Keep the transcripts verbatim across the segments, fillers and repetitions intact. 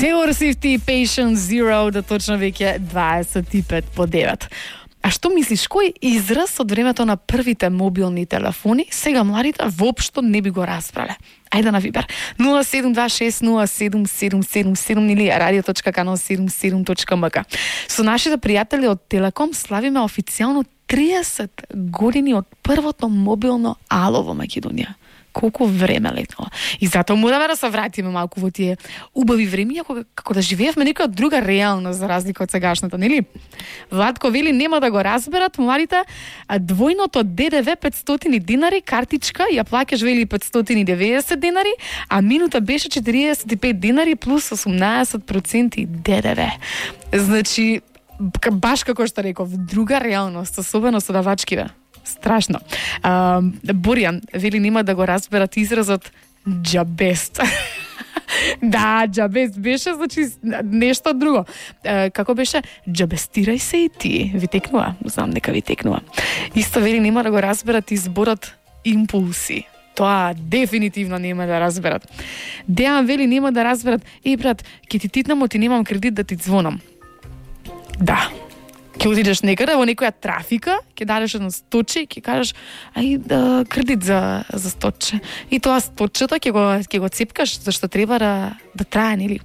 Taylor Swift и Patient Zero, да точно веќе дваесет и пет по девет. А што мислиш, кој израз од времето на првите мобилни телефони сега младите воопшто не би го разбрале? Ајде на Вибер. нула седум два шест нула седум седум седум седум или радио точка канал седумдесет и седум точка ем ка. Со нашите пријатели од Телеком славиме официјално триесет години од првото мобилно ало во Македонија. Колку време летнало. И затоа мораме да се вратиме малку во тие убави времиња кога како да живеевме некоја друга реалност за разлика од сегашната, нели? Владко вели нема да го разберат младите, а двојното ДДВ петстотини динари, картичка ја плаќаш вели петстотини и деветдесет динари, а минута беше четириесет и пет динари плюс осумнаесет проценти ДДВ. Значи баш како што реков, друга реалност, особено со давачкиве. Страшно. А, Боријан вели нема да го разберат изразот џабест. Да, џабест беше, значи нешто друго. А, како беше? Џабестирај се и ти. Ви текнува? Знам дека ви текнува. Исто вели нема да го разберат изборот импулси. Тоа дефинитивно нема да разберат. Дејан вели нема да разберат. Еј брат, ќе ти титнам, ти немам кредит да ти звонам. Да. Ќе отидеш некаде во некоја трафика, ќе дадеш едно сточе и ќе кажеш ај да кредит за за сточе. И тоа сточето ќе го ќе го цепкаш зашто треба да да трае, нели?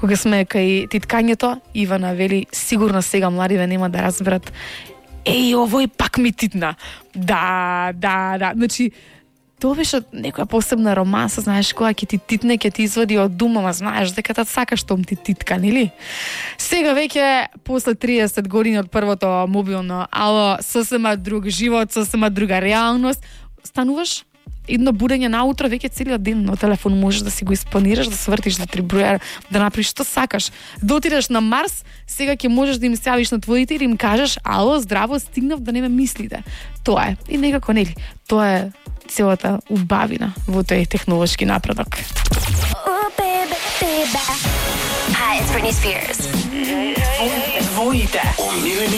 Кога сме кај титкањето, Ивана вели сигурно сега младиве нема да разберат. Еј, овој пак ми титна. Да, да, да. Значи тоа беше некоја посебна романса, знаеш, која ќе ти титне, ќе ти извади од дума, ма знаеш дека та сакаш што ти титка, нели? Сега веќе после триесет години од првото мобилно ало, сосема друг живот, сосема друга реалност, стануваш едно будење наутро, веќе целиот ден на телефон можеш да си го испланираш, да свртиш, да три броја, да направиш што сакаш. Да отидеш на Марс, сега ќе можеш да им се јавиш на твоите и да им кажеш ало, здраво, стигнав да не ме мислите. Тоа е. И некако нели, тоа е целата убавина во тој технолошки напредок. Oh, baby, baby. Hi, it's Britney Spears.